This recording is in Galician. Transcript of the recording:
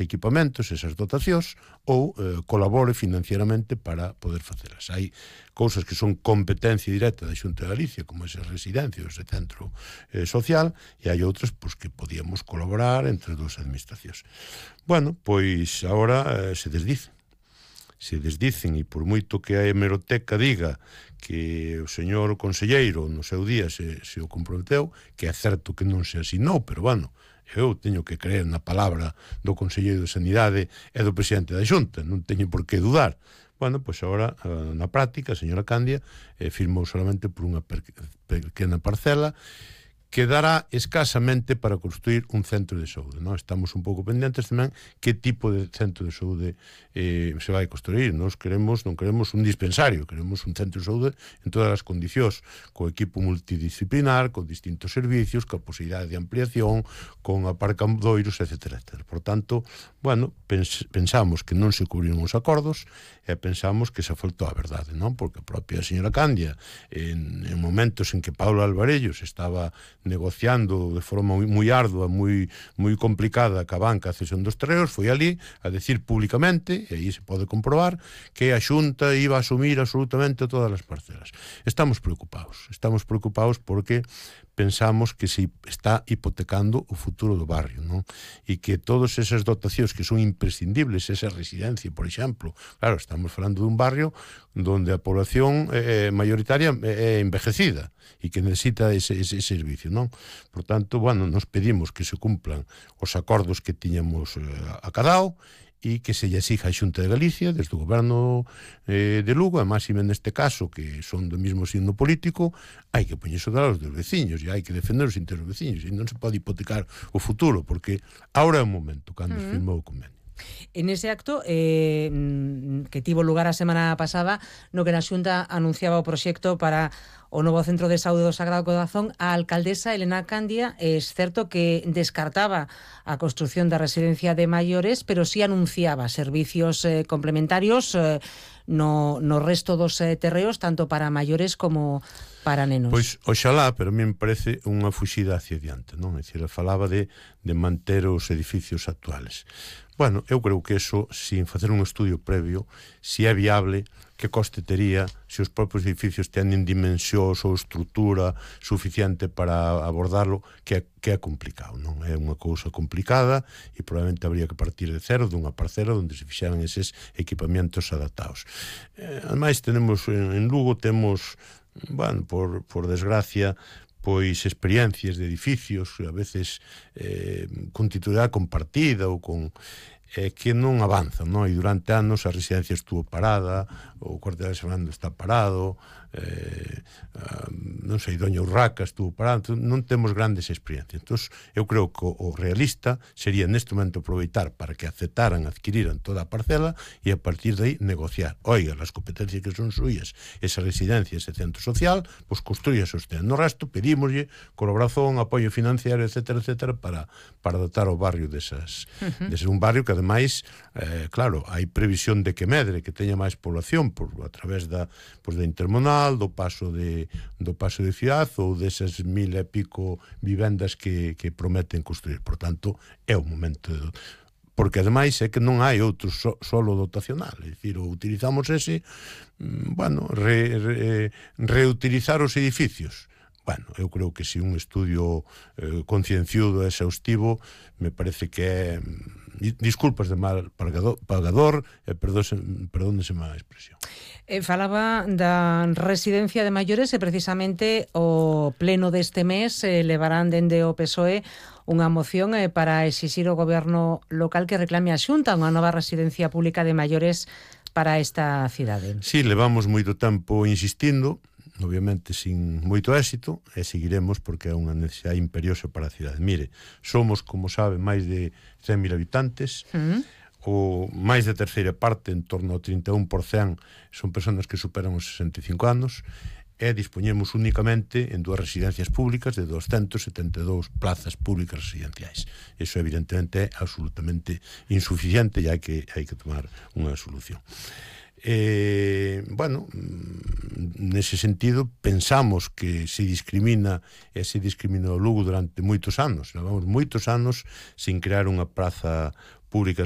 equipamentos, esas dotacións, ou colabore financieramente para poder facelas. Hai cousas que son competencia directa da Xunta de Galicia, como ese residencia, ese centro social, e hai outras pois, que podíamos colaborar entre dúas administracións. Bueno, pois agora se desdicen, e por moito que a hemeroteca diga que o señor conselleiro no seu día se o comprometeu, que é certo que non se asinou, pero bueno, eu teño que creer na palabra do Conselleiro de Sanidade e do presidente da Xunta, non teño por que dudar. Bueno, pois agora, na práctica, a señora Candia firmou solamente por unha pequena parcela que dará escasamente para construir un centro de saúde. Non? Estamos un pouco pendentes tamén que tipo de centro de saúde se vai construir. Non queremos un dispensario, queremos un centro de saúde en todas as condicións, co equipo multidisciplinar, con distintos servicios, con posibilidade de ampliación, con aparcadoiros, etc. Por tanto, bueno, pensamos que non se cubriron os acordos e pensamos que se faltou a verdade, non? Porque a propia señora Candia, en momentos en que Paulo Alvarellos estaba negociando de forma moi ardua, moi complicada ca banca a cesión dos terreos, foi ali a decir públicamente, e aí se pode comprobar, que a Xunta iba a asumir absolutamente todas as parcelas. Estamos preocupados porque pensamos que se está hipotecando o futuro do barrio, non? E que todas esas dotacións que son imprescindibles, esa residencia, por exemplo, claro, estamos falando dun barrio donde a población mayoritaria é envejecida e que necesita ese servicio, non? Por tanto, bueno, nos pedimos que se cumplan os acordos que tiñamos acadado e que se lle exija a Xunta de Galicia desde o goberno de Lugo, e máxime neste caso que son do mesmo signo político, hai que poñerse a dos veciños e hai que defender os intereses dos veciños e non se pode hipotecar o futuro porque ahora é o momento cando se firmou o convenio. En ese acto que tivo lugar a semana pasada no que na Xunta anunciaba o proxecto para o novo Centro de Saúde do Sagrado Corazón, a alcaldesa Elena Candia é certo que descartaba a construción da residencia de maiores, pero sí anunciaba servicios complementarios no resto dos terreos, tanto para maiores como para nenos. Pois, oxalá, pero a mí me parece unha fuxida hacia diante, non? É dicir, falaba de manter os edificios actuales. Bueno, eu creo que eso, sin facer un estudio previo, si é viable, que coste tería, se os propios edificios teñen dimensións ou estrutura suficiente para abordarlo, que é complicado, non? É unha cousa complicada e probablemente habría que partir de cero, dunha parcela onde se fixeran eses equipamentos adaptados. Ademais, tenemos en Lugo, temos, bueno, por desgracia, pois experiencias de edificios, a veces con titularidade compartida ou con que non avanzan, non? E durante anos a residencia estuvo parada, o cuartel de Fernando está parado, non sei, Doña Urraca estuvo parado, non temos grandes experiencias. Entón, eu creo que o realista sería neste momento aproveitar para que aceptaran, adquiriran toda a parcela e a partir de aí negociar. Oiga, as competencias que son suyas, esa residencia, ese centro social, pois construíase usted. No resto, pedímoslle colaboración, apoio financiero, etcétera, para dotar o barrio desas un barrio que ademais, claro, hai previsión de que medre, que teña máis población a través da intermonal, do paso de Ciudad ou desas 1000 e pico vivendas que prometen construir. Por tanto, é o momento porque ademais é que non hai outro solo dotacional, é dicir, utilizamos ese, bueno, reutilizar os edificios. Bueno, eu creo que si un estudio concienciudo e exhaustivo me parece que é, disculpas de mal pagador, perdónese má expresión. Falaba da residencia de maiores e precisamente o pleno deste mes levarán dende o PSOE unha moción para exixir ao goberno local que reclame a Xunta unha nova residencia pública de maiores para esta cidade. Sí, levamos moito tempo insistindo, obviamente sin moito éxito, e seguiremos porque é unha necesidade imperiosa para a cidade. Mire, somos, como sabe, máis de 100.000 habitantes, o máis de terceira parte, en torno ao 31%, son persoas que superan os 65 anos, e dispoñemos únicamente en dúas residencias públicas de 272 plazas públicas residenciais. Eso evidentemente é absolutamente insuficiente e hai que tomar unha solución. Bueno, nese sentido pensamos que se discrimina e se discriminou Lugo durante moitos anos. Levamos moitos anos sin crear unha praza públicas